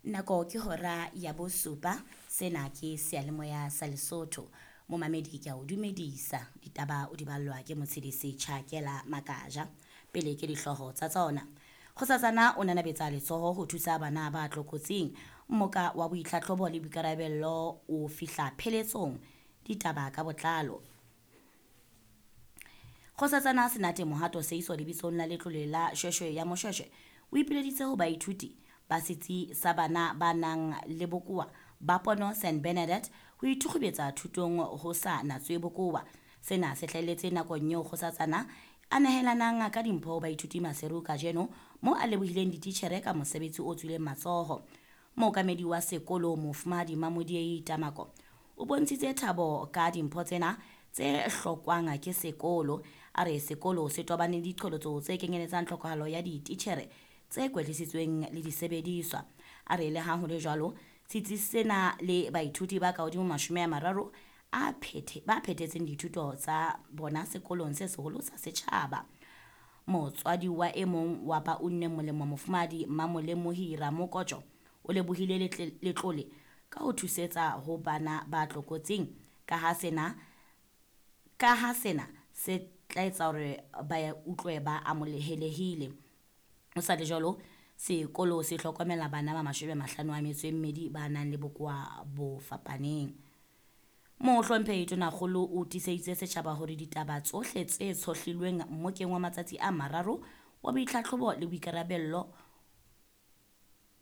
Nako ke hora ya bosupa. Sena ke seyalemoya sa Lesotho. Momamedi, ke a o dumedisa. Ditaba o di ballwa ke Motshedisi Tjhakela Makaja. Pele ke dihlooho tsa tsona. Kgosatsana o nanabetsa letsoho ho thusa bana ba tlokotsing. Mmoka wa boitlhatlhobo le boikarabello o fihla pheletsong. Ditaba ka botlalo. Kgosatsana Senate Mohato Seiso lebitsong la letlole la Shweshwe ya Moshweshwe o ipileditse ho baithuti ba setsi sa bana ba nang le bokowa ba pono St Bernadette ho ithukgubetsa thutong ho sa natswe bokowa. Sena se hlahelletse nakong eo kgosatsana a nehelanang ka dimpho ho baithuti Maseru kajeno, mo a lebohileng dititjhere ka mosebetsi o tswileng matsoho. Mookamedi wa sekolo, Mofumahadi Mamodiei Tamako, o bontshitse thabo ka dimpho tsena tse hlokwang ke sekolo. A re sekolo se tobane le diqholotso tse kenyeletsang tlhokahalo ya dititjhere tse kwetlisitsweng le disebediswa. A re le ha ho le jwalo, setsi sena le baithuti ba kahodimo 30 a phethe ba phethetseng dithuto tsa bona sekolong se seholo sa setjhaba. Motswadi wa e mong wa ba unneng molemo, Mofumahadi Mamolemohi Ramokotsho, o lebohile letlole ka ho thusetsa ho bana ba tlokotsing ka ha sena se tla etsa hore ba utlwe ba amohelehile. Ho sa le jwalo, sekolo se hlokomela bana ba 52 ba nang le bokowa bo fapaneng. Mohlomphehi Tonakgolo o tiiseditse setjhaba hore ditaba tsohle tse tshohlilweng mmokeng wa matsatsi a 3 wa boitlhatlhobo le boikarabello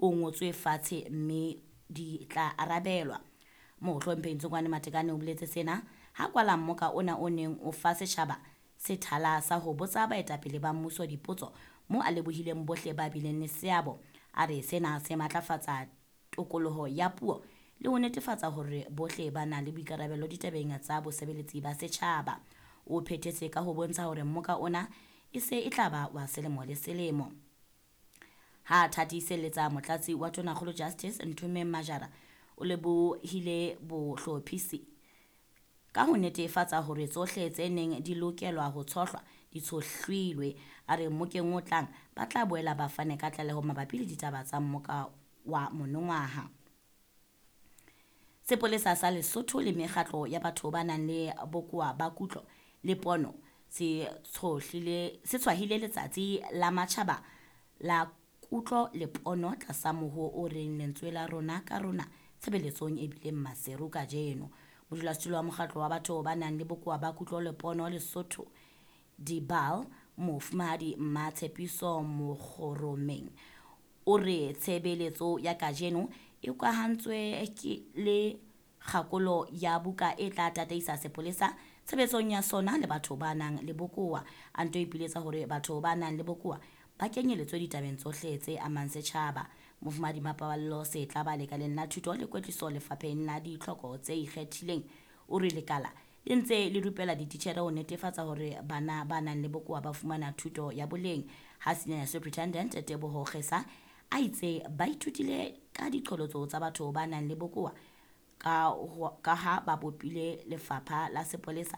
o ngotswe fatshe mme di tla arabelwa. Mohlomphehi Ntsokoane Matekane o boletse sena ha kwala mmoka ona o neng o fa setjhaba sethala sa ho botsa baetapele ba mmuso dipotso, mo a lebohileng bohle ba bileng le seabo. A re sena se matlafatsa tokoloho ya puo le ho netefatsa hore bohle ba na le boikarabelo ditabeng tsa bosebeletsi ba setjhaba. O phethetse ka ho bontsha hore mmoka ona e se e tla ba wa selemo le selemo. Ha thatiselletsa, motlatsi wa Tonakgolo Justice Nthomeng Majara o lebohile bohlophisi ka ho netefatsa hore tsohle tse neng di lokelwa ho tshohlwa di tshohlilwe. A re mmokeng o tlang ba tla boela ba fane ka tlaleho mabapi le ditaba tsa mmoka wa monongwaha. Sepolesa sa Lesotho le mekgatlo ya batho ba nang le bokowa ba kutlo le pono se tshwahile letsatsi la matjhaba la kutlo le pono tlasa mohoo o reng "Lentswe la rona ka rona" tshebeletsong e bileng Maseru kajeno. Modulasetulo wa mokgatlo wa batho ba nang le bokowa ba kutlo le pono Lesotho Dibal, Mofumahadi Mmatshepiso Mokgoromeng, o re tshebeletso ya kajeno e hokahantswe le kgakolo ya buka e tla tataisa sepolesa tshebetsong ya sona le batho ba nang le bokowa. A nto ipiletsa hore batho ba nang le bokowa ba kenyeletswe ditabeng tsohle tse amang setjhaba. Mofumahadi Mapaballo Setlaba lekaleng la thuto le kwetliso lefapheng la ditlhoko tse ikgethileng o re lekala le ntse le rupela dititjhere ho netefatsa hore bana ba nang le bokowa ba fumana thuto ya boleng. Ha Senior Superintendent Teboho Kgesa a itse ba ithutile ka diqholotso tsa batho ba nang le bokowa ka ha ba bopile lefapha la sepolesa.